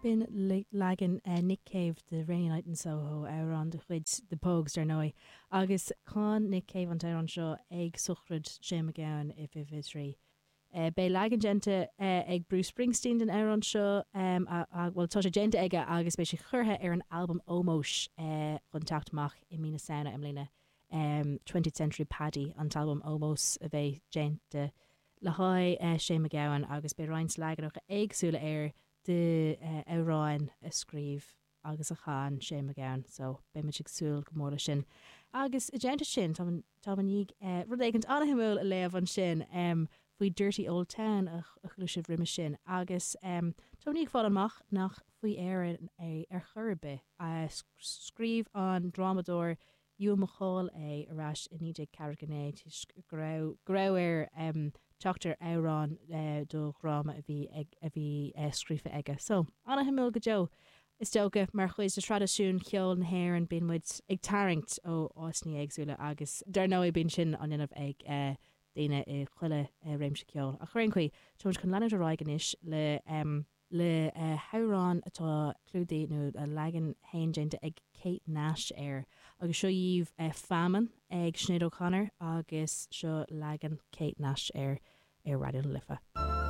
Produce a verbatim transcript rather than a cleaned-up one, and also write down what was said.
B'in leagan Nick Cave de Rainy Night in Soho amhrán de chuid The Pogues dar ndóigh agus chan Nick Cave an t-amhrán seo ag sochraid Shane MacGowan i fiche trí. Beidh leagan déanta ag Bruce Springsteen den amhrán seo bhuel tá sé déanta aige agus beidh sé curtha ar an albam ómóis chun teacht amach i mí na Samhna i mbliana Twentieth Century Paddy an t-albam ómóis a bheidh déanta le haghaidh Shane MacGowan agus beidh roinnt leaganacha éagsúla air de amhráin a scríobh agus a chan Shane MacGowan, so beimid ag súil go mór leis sin. Agus i dteannta sin tá tá i ndiaidh rud éigin an-shuimiúil a léamh ansin faoi Dirty Old Town a chuala sibh roimhe sin agus tá i ndiaidh fáil amach nach faoi Éirinn é ar chor ar bith. Scríobh an drámadóir Ewan MacColl é ar ais i naoi déag ceathracha naoi toisc go raibh go raibh air teacht ar amhrán do dhráma a bhí a bhí scríofa aige. So an-shuimiúil go deo. Is dócha mar chuid de thraidisiún cheol na hÉireann bíonn muid ag tarraingt ó áiteanna éagsúla agus dar ndóigh bíonn sin á dhéanamh ag daoine i chuile réimse ceoil. Ach ar aon chaoi, tá muid chun leanúint ar aghaidh anois le le hamhrán atá clúdaithe nó a leagan féin déanta ag Kate Nash air agus seo dhaoibh Famine ag Sinéad O'Connor agus seo leagan Kate Nash air ar Raidió na Life.